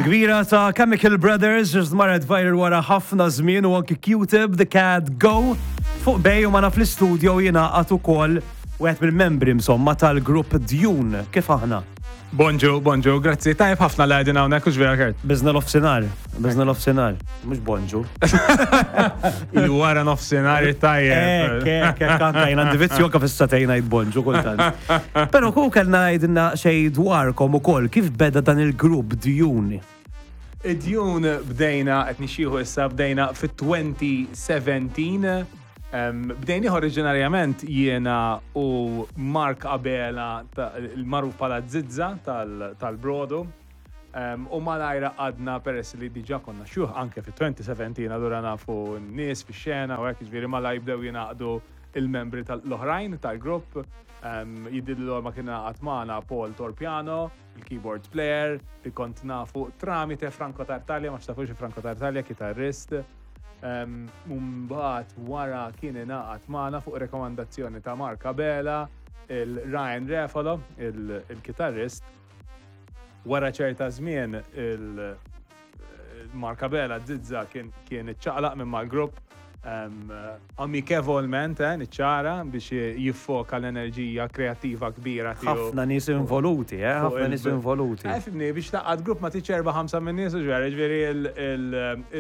Kbira ta' Chemical Brothers ġust marret viral wara ħafna żmien u anki Q-Tip, The Cat Go. Fuq Bay u magħna fl-istudio jingħaqad ukoll wieħed mill-membri insomma tal-grupp Dune. Kif aħna? Bonġu, bonġu, grazzi. Tajb ħafna li għedin hawnhekk u vera Kurt. Biżna l-offsinar, biżna l-offsinar, mhux bonġu. Il-wara nofsinhar tajjeb. Ek, ek, ek, anka jien għandi vizzju anka fis-satejn ngħid bonġu kultant. Però ku kellna jgħidilna xejn dwarkom ukoll kif beda dan il-grupp Dune. Id-Dune bdejna qed nixjieħu issa bdejna fit-2017. Bdejnih oriġinarjament jiena u Mark Abela il-magħruf bħala Zizza tal-Brodu. U malajr għadna peress li diġà konna xjuħ anke fit-2017 allura nafu n-nies fix-xena u hekk jiġifieri malajr bdew jingħaqdu il-membri l-oħrajn tal-grupp. Jidhirli l-ewwel ma kien ingħaqad magħna Paul Torpiano, il-keyboard player, li kont nafu tramite Franco Tartaglia, ma tafux Franco Tartaglia, kitarrist. Mbagħad wara kien ingħaqad magħna fuq rekomandazzjoni ta' Mark Abela, il-Ryan Refalo, il-kitarrist. Wara ċerta żmien il- Mark Abela Zizza kien kien iċċaqlaq minn mal-grupp amikevolment, eh, niċċara biex jiffoka l-enerġija kreattiva kbira tiegħu. Ħafna nies involuti, eh, ħafna nies involuti. Eh, fimni, biex taqgħad grupp ma tiċ erba' ħamsa minn nies u ġveri, ġveri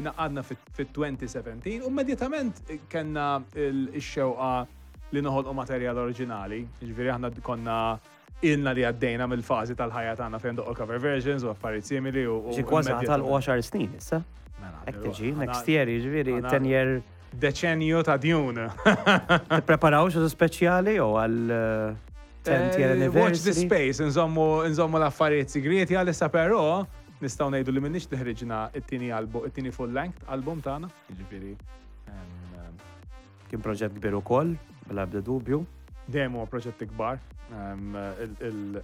ingħaqadna fit-2017 u immedjatament kellna x-xewqa li noħolqu materjal oriġinali, ġifieri aħna konna Ilna li għaddejna mill-fażi tal-ħajja tagħna fejn doqqu cover versions u affarijiet simili u. Xi kważi ħatalqu 10 snin issa. Mela, Hekk tiġi, next year, jiġifieri 10 year. Deċenju ta' djun. Tippreparaw xi speċjali jew għal 10th year anniversary? Watch the space, nżommu l-affarijiet sigrieti għalissa però nistgħu ngħidu li minnix li ħriġna it-tieni album, it-tieni full length album tagħna, jiġifieri. Kien proġett kbir ukoll, bla ebda dubju. Dejjem huwa proġett ikbar,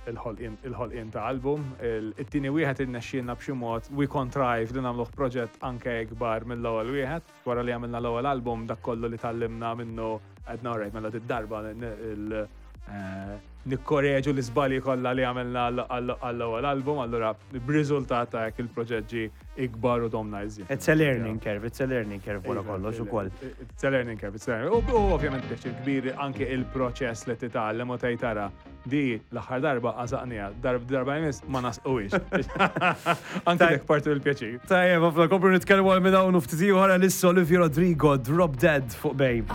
il-ħolqien ta' album. It-tieni wieħed irnexxielna b'xi mod we contrived li nagħmluh proġett anke ikbar mill-ewwel wieħed. Wara li għamilna l-ewwel album dak kollu li tgħallimna minnu għedna alright mela did-darba nikkoreġu l-iżbalji kollha li għamilna għall-ewwel album, allura b'riżultat ta' hekk il-proġett ġie ikbar u domna iżjed. It's a learning curve, it's a learning curve wara kollox ukoll. It's a learning curve, it's a learning curve. U ovvjament pjaċir kbir anke il-proċess li titgħallem u tgħid tara di l-aħħar darba għażaqniha, darba jmiss ma nasquhiex. Anke dik parti mill-pjaċir. Tajjeb, ħafna komplu nitkellmu għal minn hawn u ftit ieħor għalissa Olivia Rodrigo, Drop Dead fuq Bay.